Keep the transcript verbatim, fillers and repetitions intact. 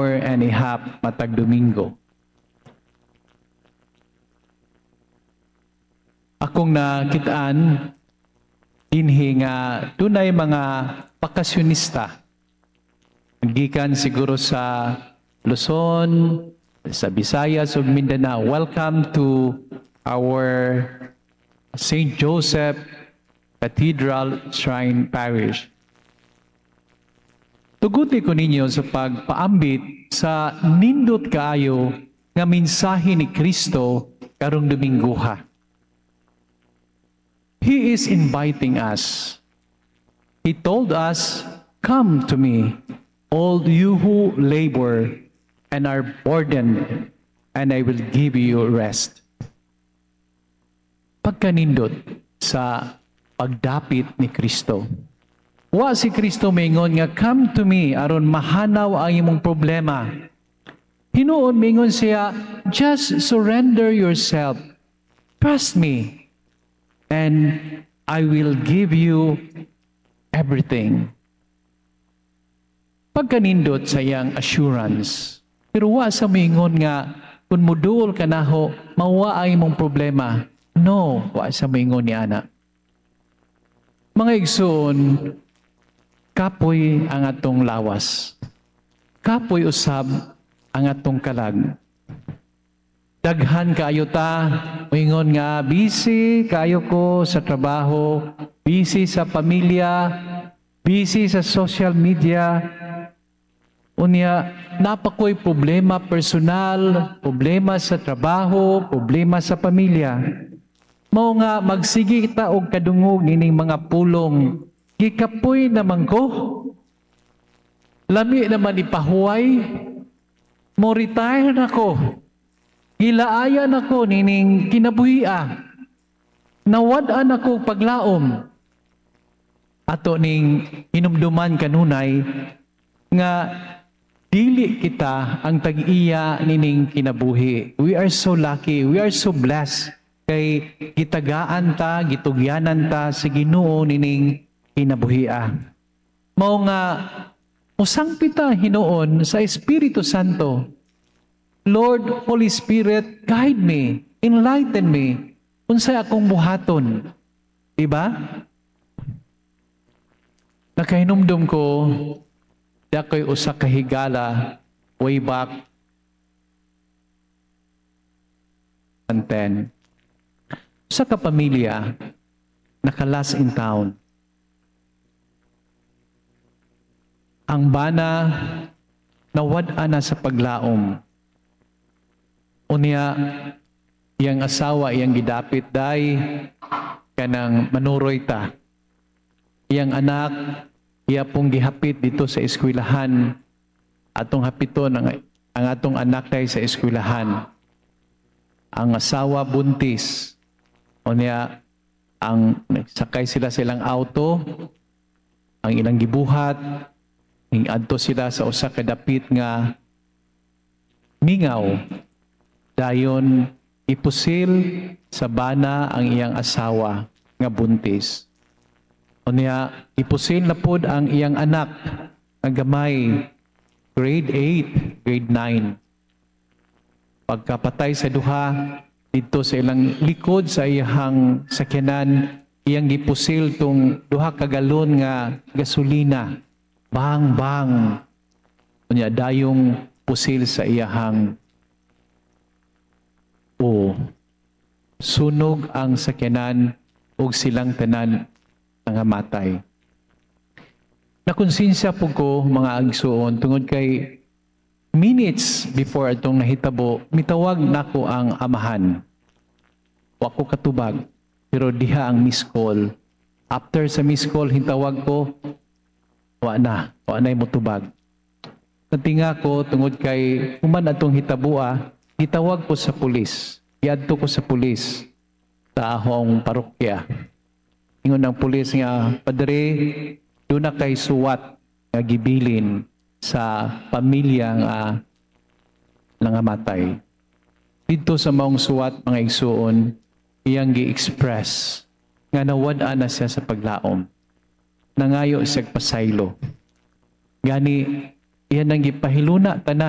hour and a half matag Domingo. Akong nakitaan dinhi nga dunay mga bakasyonista. Gikan siguro sa Luzon, sa Visayas ug Mindanao. Welcome to our Saint Joseph Cathedral Shrine Parish. Tuguti ko ninyo sa pagpaambit sa nindot kaayo nga mensahe ni Kristo karong Domingguha. He is inviting us. He told us, "Come to me, all you who labor and are burdened, and I will give you rest." Pagkanindot sa pagdapit ni Kristo. Wa si Kristo mingon nga, "Come to me aron mahanaw ang imong problema." Hinuon mingon siya, "Just surrender yourself. Trust me and I will give you everything." Pagkanindot sa iyang assurance. Pero wa sa mingon nga kung muduol ka naho, mawa ang imong problema. No, wa sa mingon ni ana. Mga igsoon, kapoy ang atong lawas. Kapoy usab ang atong kalag. Daghan kaayo ta, moingon nga busy kaayo ko sa trabaho, busy sa pamilya, busy sa social media. Unya, naa pa ko'y problema personal, problema sa trabaho, problema sa pamilya. Mao nga magsige ta og kadungog nining mga pulong, "Gikapoy naman ko. Lami naman ipahuway. Mo retire na ko. Gilaayan ako nining kinabuhia. Nawad-an ako paglaom." Ato ning hinumduman kanunay nga dili kita ang tag-iya nining kinabuhi. We are so lucky, we are so blessed kay gitagaan ta, gitugyanan ta sa Ginoo nining kinabuhia. Mao nga musangpit ta hinuon sa Espiritu Santo. "Lord, Holy Spirit, guide me, enlighten me. Unsay akong buhaton?" Diba? Nakahinumdum ko, di ako'y usa ka higala way back ten. Usa ka pamilya nakalas in town. Ang bana nawad-an na sa paglaom. Unya, iyang asawa iyang gidapit, "Day, kanang manuroy ta." Iyang anak iya pong gihapit dito sa eskwelahan. "Atong hapiton ang, ang atong anak day sa eskwelahan." Ang asawa buntis. Unya, ang sakay sila sa ilang auto, ang ilang gibuhat, adto sila sa usa ka dapit nga mingaw. Dayon ipusil sa bana ang iyang asawa nga buntis. Unya, ipusil na pod ang iyang anak nga gamay, grade eight, grade nine. Pagkapatay sa duha, dito sa ilang likod sa iyang sakyanan, iyang gipusil tong duha ka galon nga gasolina. Bang, bang. Unya, dayong pusil sa iyahang o sunog ang sakyanan ug silang tanan nangamatay. Nakonsensya po ko, mga igsuon, tungod kay minutes before atong nahitabo, mitawag nako ang amahan. Wa ko katubag, pero diha ang miss call. After sa miss call, hintawag ko, wa na, wa na motubag. Natinga ko tungod kay human atong hitabua, gitawag ko sa pulis. Giadto ko sa pulis sa ahong parokya. Ingon ang pulis nga, "Padre, duna kay suwat nga gibilin sa pamilya nga nangamatay." Dito sa maong suwat, mga igsuon, iyang gi-express nga nawad-an na siya sa paglaom. Nangayo siya pasaylo. Gani, iyan ang gipahiluna tanan.